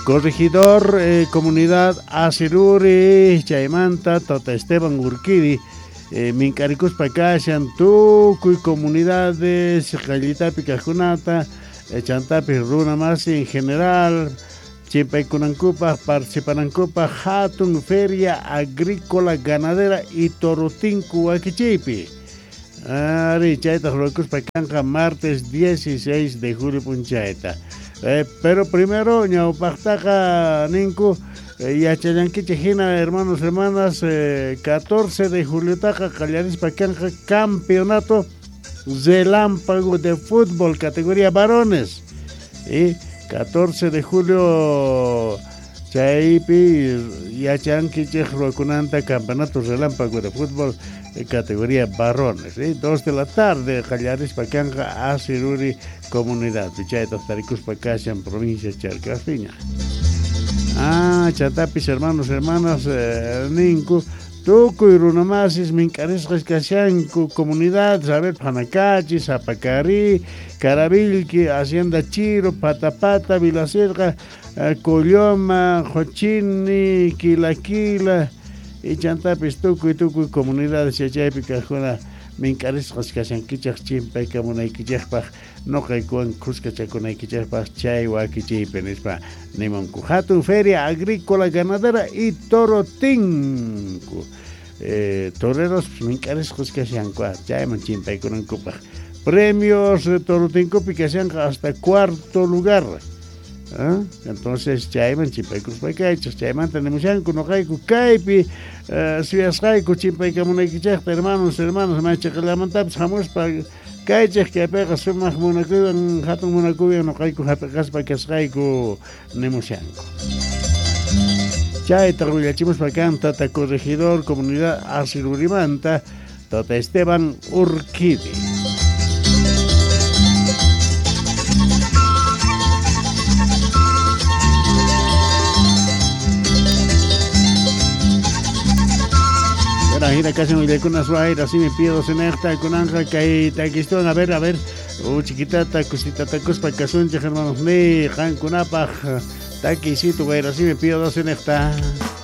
Corregidor comunidad Asiruri chaymanta Tata Esteban Urquidi mink'arikuspa kashan tukuy comunidades qayllitapi kajkunata chantapis runa masi en general chimpaykunankupaj participanankupaj hatun feria agrícola ganadera y torotinku wakichiypi. Ari chaytaj ruwakuspa kanqa martes 16 de julio p'unchayta. Pero primero ñawpajtaqa ninku yachallankichej hina hermanos hermanas 14 de juliotaqa qallarispa kanqa campeonato relámpago de fútbol categoría varones. Y 14 de julio chaypi yachankichej ruwakunanta campeonato relámpago de fútbol categoría varones. 2 de la tarde qallarispa kanqa Asiruri comunidad chaytaj tarikuspa kashan provincia Charcaspiña. Ah, chantapis hermanos hermanas ninku tukuy runamasis mink'arisqas kashanku comunidad, a ver, Panacachi, Zapacari, Caravilqui, Hacienda Chiro, Patapata, Vilacerca, Colloma, Jochini, Quilaquila, y chantapis tukuy tukuy comunidades chaypi kajkuna mink'arisqas kashankichej chimpaykamunaykichejpaj noqaykuwan khuskachakunaykichejpaj chay wakichiypi nispa nimunku. Hatun feria agrícola ganadera y torotinku. Toreros mink'arisqas kashanku chayman chimpaykunankupaj. Premios torotinkupi kashanqa hasta cuarto lugar. ¿Ah? Entonces chayman chimpaykuspa kaychej chaymanta nimushanku noqayku kaypi suyasqayku chimpaykamunaykichejta hermanos hermanas maychaqallamantapis hamuspa kaychej kaypiqa sumaq munakuywan hatun munakuywan noqayku hap'iqaspa kasqayku nimushanku. Chayta willachimuspa kan tata corregidor comunidad Asirurimanta tata Esteban Urquidi. Hina kashan willaykunas wayra así me pido senejta kunanja kay takistuan a ver chiquitata kusitatakuspa kasunchej hermanos ni qankunapaj takisito wayra así me pido senejta.